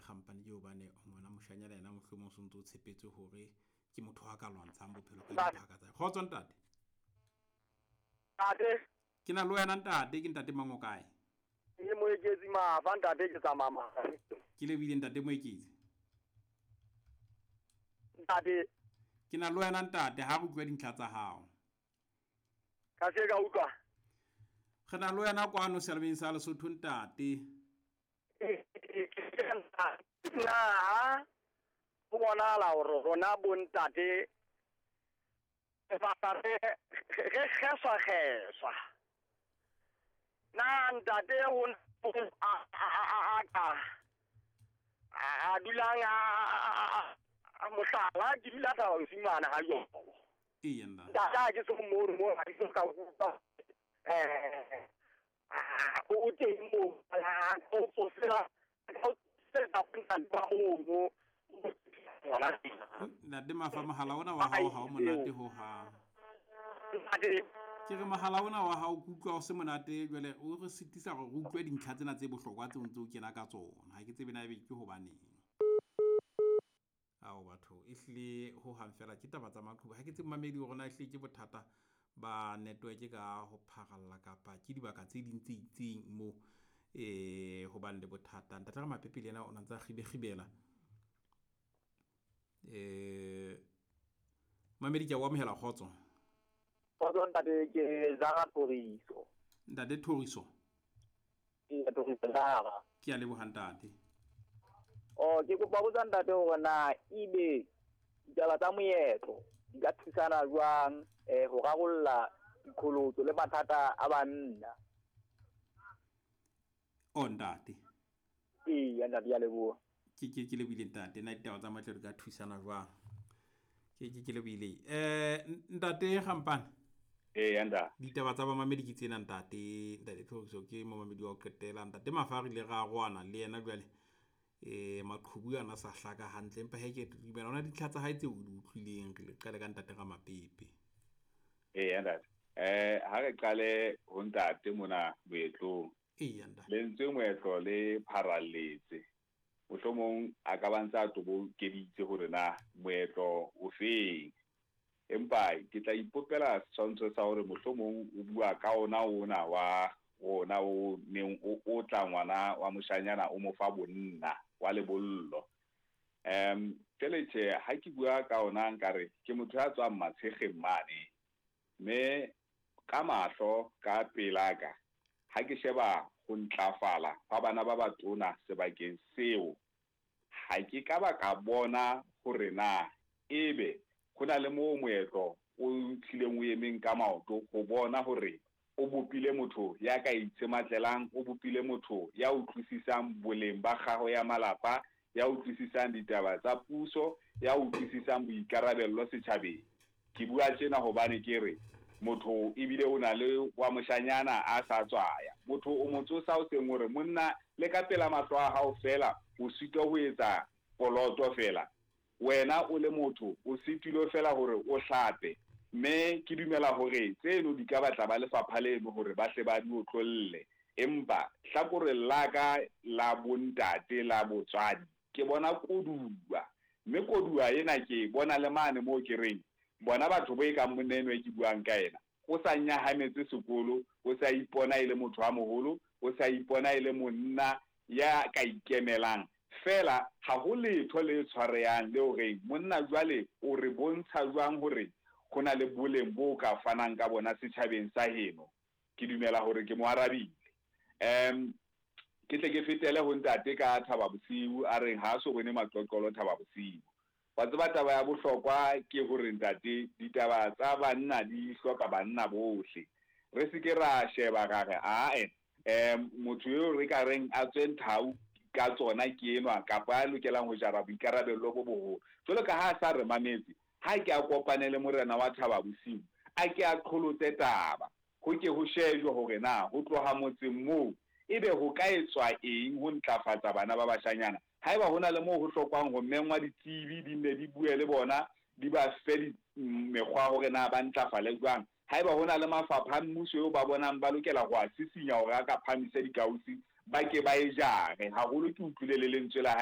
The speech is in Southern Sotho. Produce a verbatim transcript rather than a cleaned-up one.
Kgampane ke hobane ngwana moshanyana yena mohlomong o sontso o tshepetse hore ke motho a ka lwantshang bophelo ka diphaka tsa. Kgotso ntate. Ntate. Ke na le wena ntate, ke ntate mang o kae? Ke Moeketsi Mafa ntate, ke tsamaya Mafa. Ke lebile ntate Moeketsi. Ntate. Ke na le wena ntate, ha re utlwa dintlha tsa hao. Ka se ka utlwa. Re na le wena kwano Selebeng sa Lesotho ntate. Na ho bonahala hore rona bo ntate re re kgeswa kgeswa. Na ntate ho a a ka a dulang a mohlala ke dula Thaba Bosiu mane ha jobo. Eya ntate. Ntate ke so mo mo ha ke so ka utlwa eh o teng mo o tsofela o tsela ba o Ntate Mafa, mohala ona wa hao ha o monate ho hang. Ke re mohala ona wa hao ke utlwa o se monate, jwale o re sitisa hore re utlwe dintlha tsena tse bohlokwa tseo ntse o kena ka tsona. Ha ke tsebe na ebe ke hobaneng. Ao batho, ehlile ho hang fela ke taba tsa maqhubu. Ha ke tsebe mamedi hore na ehlile ke bothata ba network ka ho pharalla kapa ke dibaka tse ding tse itseng moo eh ho bang le bothata. Ntate Ramapepe le yena o na ntsa kgibekgibela. Eh mamedi ke a o amohela, kgotso. Kgotso ntate, ke Zara Thoriso. Ntate Thoriso. Ke Thoriso Zara. Ke a leboha ntate. Oh, ke kopa botsa ntate hore na ebe ditaba tsa moetlo di ka thusana jwang eh ho rarolla diqholotso le mathata a banna. Oh ntate. Ee, ntate ya leboha. Ke ke ke lebile ntate, na ditaba tsa moetlo di ka thusana jwang? Ke ke ke lebile. Eh ntate Kgampane. Ee ntate. Ditaba tsa bamamedi ke tsena ntate, ntate Thoriso ke momamedi wa ho qetela. Ntate Mafa re ile ra roana le yena jwale. Eh maqhubu ana sa hlaka hantle, empa he ke dumela ona dintlha tsa hae tseo o di utlwileng. Re le qale ka ntate Ramapepe. Ee ntate. Eh ha re qale ho ntate mona moetlong. Ee ntate. Lentswe moetlo le pharalletse. Mohlomong a ka ba ntse a tobokeditse hore na moetlo o feng. Empa ke tla ipopela setshwantsho sa hore mohlomong o bua ka ona ona wa ona o neng o o tla ngwana wa moshanyana o mo fa bonna wa lebollo. Em tjele tjhe ha ke bua ka ona nkare ke motho ya tswang Matshegeng mane. Mme ka mahlo ka pelaka ha ke sheba ho ntlafala ba bana ba batona sebakeng seo, ha ke ka ba ka bona hore na ebe ho na le moo moetlo o tlileng o emeng ka maoto ho bona hore o bopile motho ya ka itshematlelang, o bopile motho ya utlwisisang boleng ba kgaho ya malapa, ya utlwisisang ditaba tsa puso, ya utlwisisang boikarabello setjhabeng. Ke bua tjena hobane ke re motho ebile o na le wa moshanyana a sa tswaya. Motho o mo tsosa o seng hore monna le ka pela mahlo a hao fela o sitwa ho etsa poloto fela. Wena o le motho o sitilo fela hore o hlape. Mme ke dumela hore tseno di ka batla ba lefapha leno hore ba hle ba di otlolle. Empa hlakoreng la ka la bontate la botswadi ke bona koduwa. Mme koduwa ena ke bona le mane moo ke reng bona batho bo e kang monna enwa e ke buang ka ena o sa nyahametse sekolo, o sa ipona e le motho a moholo, o sa ipona e le monna ya ka ikemelang. Fela ha ho letho le tshwarehang le hore monna jwale o re bontsha jwang hore ho na le boleng bo ka fanang ka bona setjhabeng sa heno. Ke dumela hore ke mo arabile. Em ke tle ke fetele ho ntate ka Thaba Bosiu a reng ha so bone maqoqolo Thaba Bosiu. Wa tseba taba ya bohlokwa ke hore ntate ditaba tsa banna di hloka banna bohle. Re se ke ra sheba ra re ae em motho eo re ka reng a tswe nthau ka tsona ke enwa kapa a lokelang ho jara boikarabello bo boholo. Jwalo ka ha a sa re mametse, ha ke a kopane le morena wa Thaba Bosiu, a ke a qholotse taba. Ho ke ho shejwe hore na ho tloha motseng moo ebe ho ka etswa eng ho ntlafatsa bana ba bashanyana. Haeba hona le moo ho hlokwang ho mengwa ditsebi di nne di bue le bona, di ba fe mekgwa hore na ba ntlafale jwang. Haeba hona le mafapha a mmuso eo ba bonang ba lokela ho a sisinya hore a ka phahamisa dikausi, ba ke ba e jare. Haholo ke utlwile le lentswe la hae.